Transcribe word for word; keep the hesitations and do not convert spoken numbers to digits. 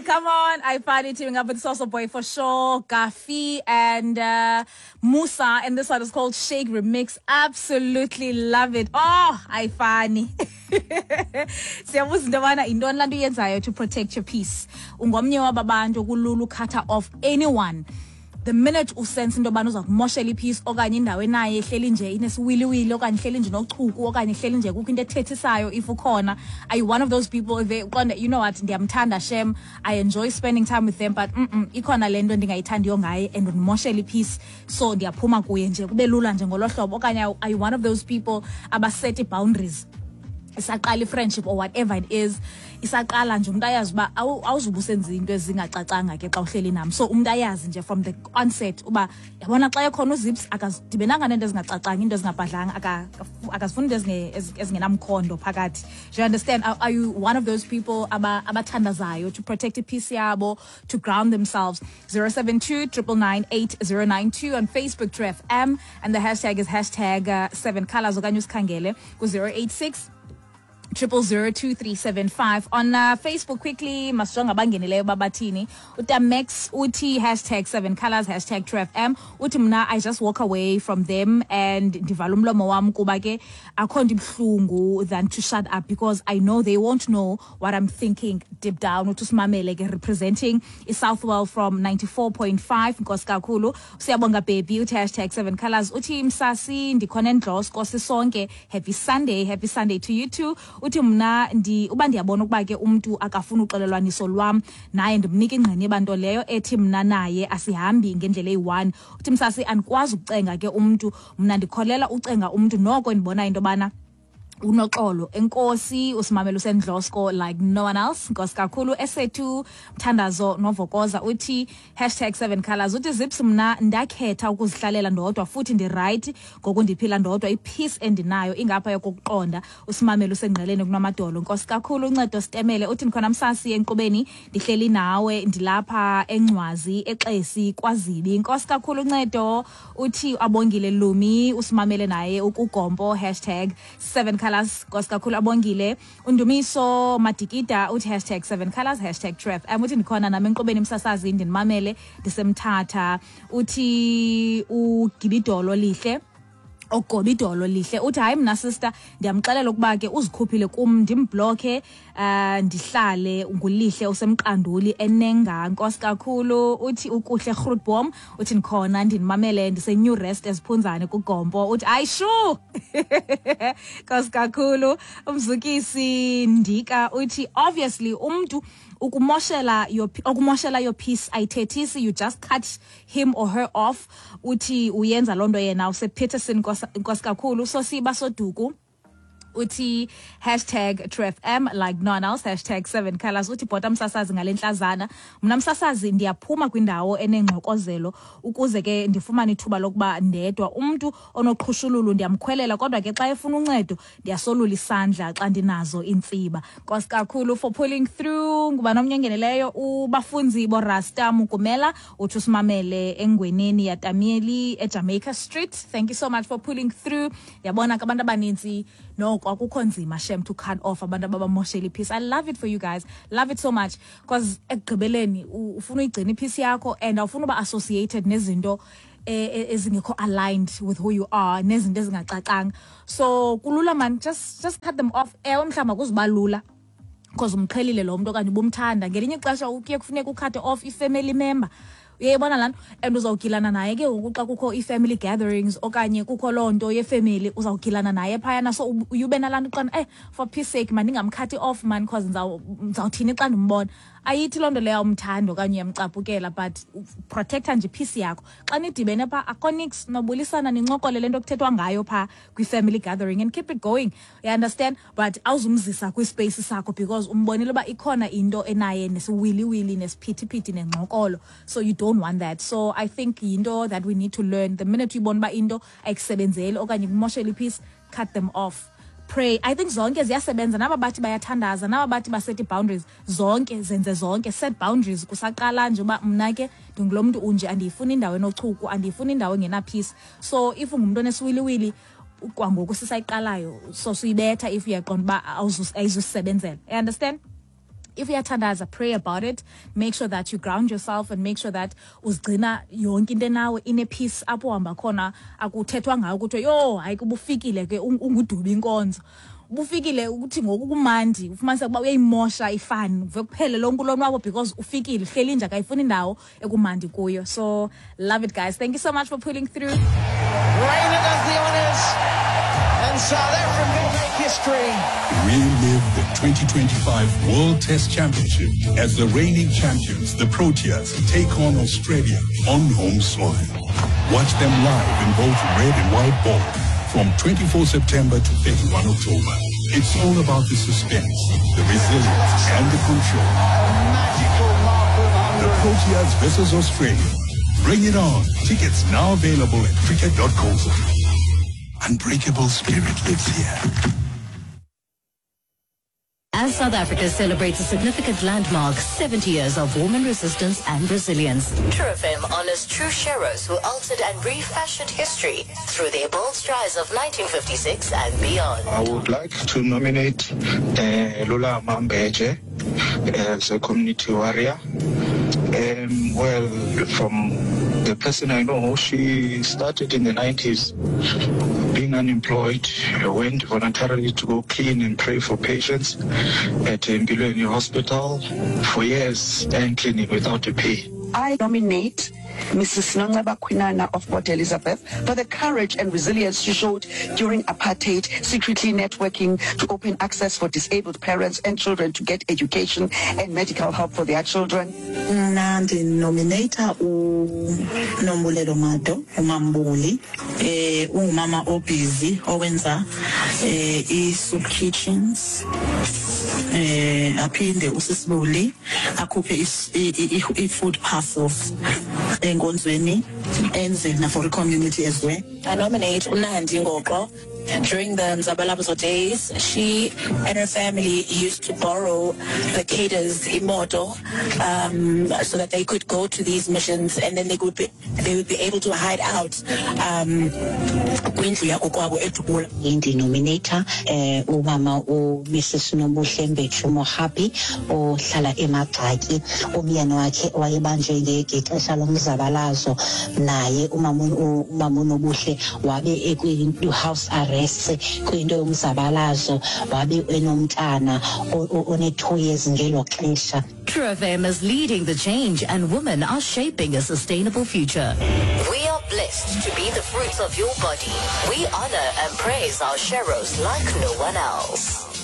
Come on. I find it teaming up with Soso Boy for sure, Gafi and uh, Musa. And this one is called Shake Remix. Absolutely love it. Oh, I funny. Siyabuza into yobana yintoni laa nto uyenzayo to protect your peace. Ungomnye waba bantu kulula u-cut-a off anyone the minute u-sense into yobana uza kumoshela i-peace, okanye indawo enaye ehleli nje inesiwiliwili, okanye ihleli nje nochuku, okanye ihleli nje kukho into ethethisayo if ukhona. Are you one of those people if uqonde, "You know what, ndiyamthanda shem, I enjoy spending time with them, but mm -mm, ikhona le nto ndingayithandiyo ngaye and undimoshela i-peace, so ndiyaphuma kuye nje kube lula nje ngolo hlobo"? Okanye are you one of those people aba-set ii-boundaries isaqala i-friendship or whatever it is, isaqala nje, umntu ayazi uba awuzuba usenza into ezingacacanga ke xa uhleli nam, so umntu ayazi nje from the onset uba, yabona, xa ekhona uZips akazidibenanga neento ezingacacanga, into ezingabhadlanga, akazifuni into ezingenamkhondo phakathi? Do you understand? are, are you one of those people abathandazayo to protect i-peace yabo, to ground themselves? zero seven two nine nine nine eight zero nine two, on Facebook, True F M, and the hashtag is hashtag uh, seven colors, okanye usikhangele ku-zero eight six triple zero two three seven five on uh, Facebook. Quickly, masijonga abangenileyo babathini. UTamex uthi hashtag seven colors, hashtag True F M. Uthi, "Mna I just walk away from them and ndivala umlomo wam, kuba ke akho nto ibuhlungu than to shut up because I know they won't know what I'm thinking deep down." Uthi usimamele ke representing iSouthwell from ninety-four point five. Nkosi kakhulu, siyabonga baby. Uthi hashtag seven colors. Uthi, "Msasi, ndikhona eNdlosko sisonke, happy Sunday." Happy Sunday to you too. Uthi, "Mna ndi uba ndiyabona ukuba ke umntu akafuni uxolelwaniso lwam naye, ndimnika ingqiniba, nto leyo ethi mna naye asihambi ngendlela eyi-one." Uthi, "Msasi, andikwazi ukucenga ke umntu. Mna ndikholela ucenga umntu noko ndibona into yobana unoxolo." Enkosi, usimamela useNdlosko like no one else. Nkosi kakhulu. Esethu Mthandazo Novokoza uthi hashtag seven colors. Uthi, "Zips, mna ndakhetha ukuzihlalela ndodwa futhi ndi-right ngoku ndiphila ndodwa. I-peace endinayo ingapha yokuqonda." Usimamela usengqeleni kunamadolo. Nkosi kakhulu. Uncedo Sitemele uthi, "Ndikhona msasi enkqubeni, ndihleli nawe, ndilapha eNcwazi eXesi kwaZibi." Nkosi kakhulu uncedo. Uthi Abongile Lumi usimamele naye ukugompo, hashtag seven colors. Nkosi kakhulu Abongile. Undumiso Madikida uthi hashtag seven colors, hashtag True F M. Uthi, "Ndikhona nami enkqubeni msasazi, ndinimamele ndisemthatha." Uthi uGibidolo Lihle, ogobidolo lihle, uthi, "Hayi mna sister, ndiyamxelela ukuba ke uzikhuphile kum, ndim-block-e, uh, ndihlale." Ngulihle usemqanduli enenga. Nkosi kakhulu. Uthi uKuhle Grootboom, uthi, "Ndikhona, ndinimamele ndise-New Rest eziphunzane kuGompo." Uthi, "Hayi shu." Nkosi kakhulu. Umzukisi Ndika uthi, "Obviously umntu ukumoshela your okumoshela your peace ayithethisi, you just cut him or her off." Uthi uyenza loo nto yena usePeterson. Nkosi kakhulu. Sosiba Soduku uthi hashtag True F M like no one else, hashtag seven colors. Uthi, "Bhota msasazi ngale ntlazana. Mna msasazi ndiyaphuma kwindawo enengxokozelo ukuze ke ndifumane ithuba lokuba ndedwa. Umntu onoqhushululu ndiyamkhwelela, kodwa ke xa efuna uncedo ndiyasolula isandla xa ndinazo iintsiba." Nkosi kakhulu for pulling through. Ngubani omnye ongeneleyo? Ubafunzi boRasta Mukumela uthi usimamele engweneni yaTamieli eJamaica Street. Thank you so much for pulling through. Yabona ke, abantu abanintsi noko akukho nzima shem to cut off abantu ababamoshela i-peace. I love it for you guys, love it so much, because ekugqibeleni u- ufuna uyigcina i-peace yakho and awufuna uba associated nezinto eh, eh, ezingekho aligned with who you are, nezinto ezingacacanga. So kulula man, just just cut them off. Ewe, mhlawumbi akuzuba lula because umqhelile lo mntu okanye ubumthanda. Ngelinye ixesha kuye kufuneka u-cut-e off i-family member, uyayibona laa nto, and uzawugilana naye ke ngoku xa kukho ii-family gatherings okanye kukho loo nto yefemeli, uzawugilana naye phayana. So ub- uye ube nalaa nto uqonda, eh for peace sake mandingam-cut-i off man, cause ndizaw- ndizawuthini xa ndimbona? Ayithi loo nto leyo awumthandi okanye uyamcaphukela, but protect-a nje i-peace yakho. Xa nidibene phaa akho nix, nobulisana nincokole le nto kuthethwa ngayo phaa kwi-family gathering and keep it going, you understand? But awuzumzisa kwi-space sakho because umbonile uba ikhona into enaye nesiwiliwili nesiphithiphithi nengxokolo, so you don't want that. So I think yinto that we need to learn: the minute uyibona uba into ayikusebenzeli okanye kumoshela i-peace, cut them off. Pray, I think zonke ziyasebenza. Naba bathi bayathandaza, naba bathi ba-set boundaries, zonke zenze zonke. Set boundaries kusaqala nje uba mna ke ndingulo mntu unje, andiyifuni indawo enochuku, andiyifuni indawo engena-peace. So if ungumntu onesiwiliwili kwangoku sisayiqalayo, so suyibetha if uyaqonda uba awuzus- ayizusebenzela, you understand? If uyathandaza, pray about it. Make sure that you ground yourself and make sure that uzigcina yonke into nawe in a peace. Apho uhamba khona akuthethwa ngayo kuthiwe yho hayi kubufikile ke unguduba inkonzo. Ubufikile ukuthi ngoku kumandi ufumanise ukuba uyayimosha ifani uve kuphele lonke ulonwabo because ufikile hleli nje akayifuni indawo ekumandi kuyo. So love it, guys. Thank you so much for pulling through. Raina does the honors and South Africa make history. Relive the twenty twenty-five World Test Championship as the reigning champions, the Proteas, take on Australia on home soil. Watch them live in both red and white ball from twenty-fourth September to thirty-first October. It's all about the suspense, the resilience, and the control. The Proteas versus Australia. Bring it on. Tickets now available at cricket dot co. Unbreakable spirit lives here. As South Africa celebrates a significant landmark, seventy years of woman resistance and resilience. True F M honors true sheroes who altered and refashioned history through their bold strides of nineteen fifty-six and beyond. I would like to nominate uh, Lula Mambeje as a community warrior. Um, well, from the person I know, she started in the nineties being unemployed, went voluntarily to go clean and pray for patients at Mbilweni Hospital for years and cleaning without a pay. I nominate Missus Nonceba Kwinana of Port Elizabeth for the courage and resilience she showed during apartheid, secretly networking to open access for disabled parents and children to get education and medical help for their children. Mna ndinominata uNombulelo Mado, uMambuli, eh ungumama obusy owenza eh i-soup kitchens, eh aphinde usisibuli akhuphe i-food parcels enkonzweni enze na for the community as well. I nominate uNandi Ngoqo. During the Mzabalazo days, she and her family used to borrow the cadres imoto um, so that they could go to these missions, and then they would be they would be able to hide out. Um, kwindlu yakokwabo eDubula. Ndinominata eh umama uMrs Nobuhle Mbetshu Mohapi ohlala eMagxaki, umyeni wakhe wayebanjwe ngexesha lomzabalazo, naye umama umama uNobuhle wabe ekwi house arrest kwinto yomzabalazo, wabe enomntana one two years ngelo xesha. True F M is leading the change, and women are shaping a sustainable future. We are blessed to be the fruits of your body. We honor and praise our sheroes like no one else.